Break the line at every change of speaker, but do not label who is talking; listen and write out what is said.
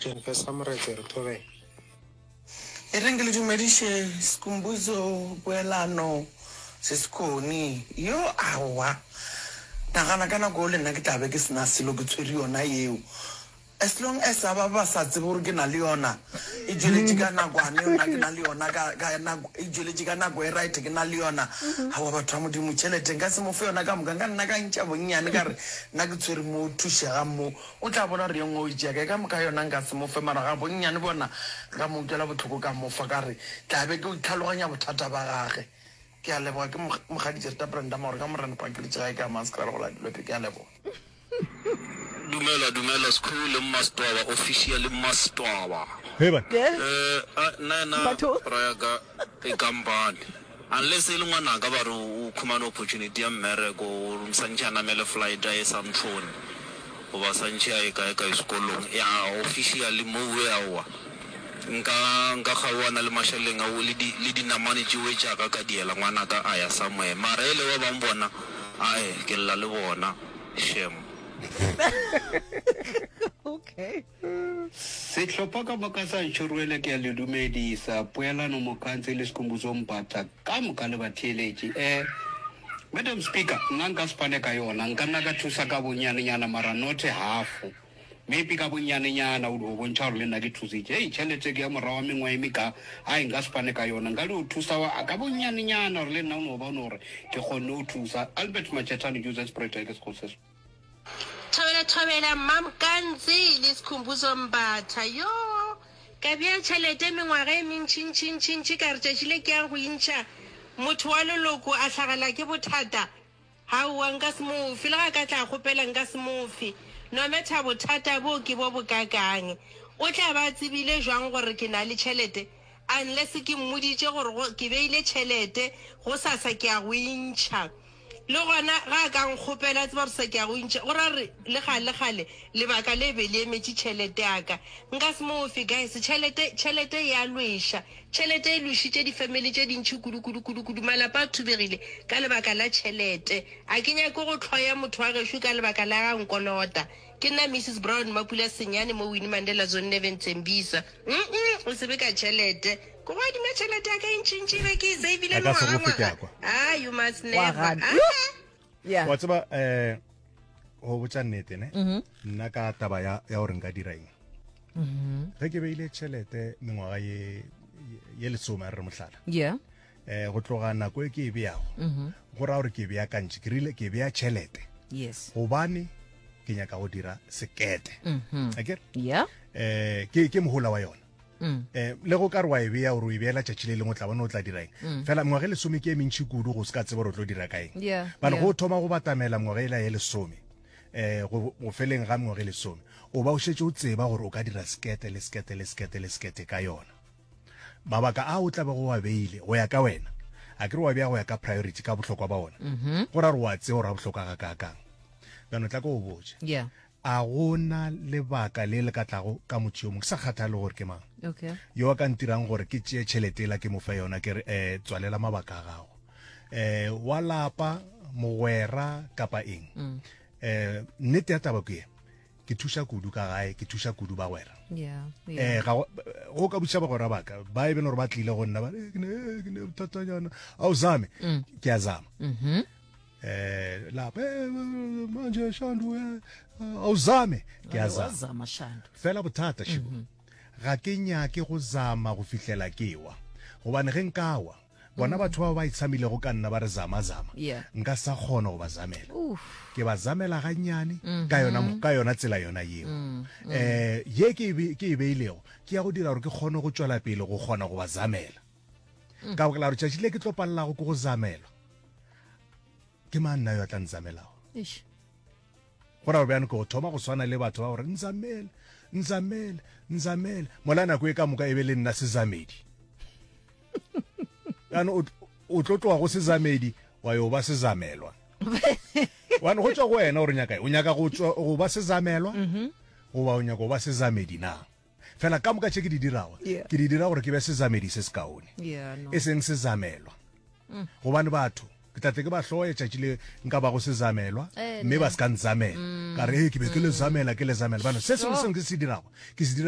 Jennifer Samoretse re thobela.
E reng ke le dumediše Skhumbuzo Poelano Sesikhoni yo aowa nagana ka nako eo le nna ke tla be ke se na selo ke tshwere yona yeo as long as a ba ba sa tsebe gore ke na le yona e tšweletše ka nakwane yona ke na le yona ka ka nako e tšweletše ka nako e right ke na le yona aowa batho ba modimo tšhelete nka se mo fe yona ka moka nka nna ka ntšha bonnyane ka re nna ke tshwere mo thušegang mo O tla bona gore ye nngwe o e tšea kae. Ka moka yona nka se mo fe, mara ga bonnyane bona nka mo utlwela bohloko ka mo fa, ka re tla be ke itlhaloganya bothata ba gage. Ke a leboga. Ke Mokgadi Jerita Brenda Maore ka Morena Pakeletše gae ka Hammanskraal go la Dilope. Ke a leboga.
Dumela dumela Skhu le Mmastwaba officially Mmastwaba.
Hei banna.
Eh nna yena
Batho.
bra ya ka e kampane unless e le ngwanaka ba re o khumane opportunity ya mmereko o santše a namele flight a ye Sandton goba santše a ye kae kae sekolong ya officially mowe aowa nka nka kgaoana le mašeleng ao le di le dinamane tšewe tša ka ka diela ngwanaka a ya somewhere mara ele ba bang bona ae ke lla le bona shem.
Okay.
Sehlopha ka moka sa Ntšhorwele ke a le dumedisa. Poelano Mokantsi le Skhumbuzo Mbatha ka moka le batheeletši. Eh, Madam Speaker, nna nka se fane ka yona. Nka nna ka thusa ka bonnyanenyana mara not half. Maybe ka bonnyanenyana o dio bontšha gore le nna ke thusitše. Hei, tšhelete ke ya morago wa mengwaga e meka, ai nka se fane ka yona. Nka dio thusa wa ka bonnyanenyana gore le nna o no bona gore ke kgonne go thusa. Albert Machetane, Joseph Spruit, ke Sekgosi se.
Thobela thobela Mmamkantsi le Skhumbuzo Mbatha yoo ka bea tšhelete mengwaga e mentšintšintšintši ka re tšatši le ke yang go intšha motho wa leloko a hlagela ke bothata aowa nka se mo fe le ga ka tla kgopela nka se mo fe no matter bothata bo ke bo bokakang o tla ba a tsebile jwang gore ke na le tšhelete unless ke mmoditše gore go ke beile tšhelete gosasa ke ya go intšha Le gona ge a ka nkgopela, a tseba gore sa ke ya go intšha, go ra gore le kgale kgale lebaka le be le emetše tšhelete ya ka. Nka se mo fe, guys. Tšhelete, tšhelete e a lweša. Tšhelete e lwešitše difamily tše dintši kudu, kudu, kudu, kudu. Malapa a thubegile ka lebaka la tšhelete. A ke nyake go hloya motho wa gešo ka lebaka la ge a nkolota. Ke nna Missus Brown Mapula Senyane mo Winnie Mandela Zone 11 Tembisa. Mm-mm, o se be ka tšhelete. Ke go adima tšhelete ya ka e ntšintši e be ke e savile
A ka se go fe ke a
mengwagangwaga.
kwa.
Ah, you must
Wa
never.
gana.
Ah,
Yo! Yeah.
Wa tseba eh go botša nnete ne nna ka taba ya ya gore nka dira eng ge ke beile tšhelete mengwaga ye ye lesome a re re mohlala
Yeah.
eh go tloga nako e ke e beago go ra gore ke beakantše ke rile ke bea tšhelete
Yes.
gobane ke nyaka go dira sekete a kere
Yeah.
eh ke ke mohola wa yona mm. eh le go ka re wa e bea gore o e beela tšatši le lengwe o tla bona o tla dira eng mm. fela mengwaga e lesome ke e mentši kudu go se ka tseba gore o tlo dira ka eng
yeah,
bane
yeah.
go thoma go batamela mengwaga ela ye lesome eh go go feleng ga mengwaga e lesome o ba o šetše o tseba gore o ka dira sekete le sekete le sekete le sekete ka yona mabaka a o tla bego wa beile go ya ka wena a ke re wa bea go ya ka priority ka bohlokwa ba ona mm -hmm. go ra gore wa tseba gore a bohlokwa ga kaakang bjano tla ko o botše
yeah.
A go na lebaka le le ka tlago ka motho yo mongwe, ke sa kgathale gore ke mang,
Okay.
yo a ka ntirang gore ke tšee tšhelete yela ke mo fe yona, ke re, eh, tswalela mabaka a gago. Eh, wa lapa, mogwera, kapa eng. Mm. Eh, nnete ya taba ke ye, ke thuša kudu ka gae, ke thuša kudu bagwera.
Yeah, yeah.
Eh, ga go go ka botšiša bagwera ba ka, ba e bene gore ba tlile go nna, ba re, eh, ke ne, eh, ke ne bothatanyana. A o zame? Mm. Ke a zama.
Mm -hmm.
eh lapha eh, manje shandu eh, awuzame ke a zama
Wazama Shandu.
fela bothata shibo ga ke nyake go zama go fihlela ke wa gobane ge nka wa bona batho bao ba itshamilego ka nna ba re zama zama
Yeah.
nka sa kgona go ba zamela
Oof.
ke ba zamela gannyane ka yona ka yona tsela yona yeo eh ye ke e be- ke e beilego ke ya go dira gore ke kgone go tšwela pele go kgona go ba zamela ka baka la gore tšatši le ke tlo palelago ke go zamelwa ke mang nna yo a tla nzamelago go ra bjane ke go thoma go swana le batho ba gore nzamele nzamele nzamele mola nako e ka moka e be le nna sezamedi jaanong o tlo tloga go sezamedi wa yo ba sezamelwa wane go tswa go wena gore o nyaka o nyaka go ba sezamelwa mhm. goba o nyaka go ba sezamedi na Fela ka moka tše ke di dirago,
Yeah.
ke di dira gore ke be sezamedi se sekaone,
Yeah, no.
e seng sezamelwa. Gobane batho ke tla tle ke ba hloye tšatši le nka bago sezamelwa,
Eh,
mme
ne.
ba se ka nzamela. Ka re, "Ee, ke be ke le zamela, ke le zamela." Bano, se sengwe le
Sure.
sengwe ke se dirago, ke se dira.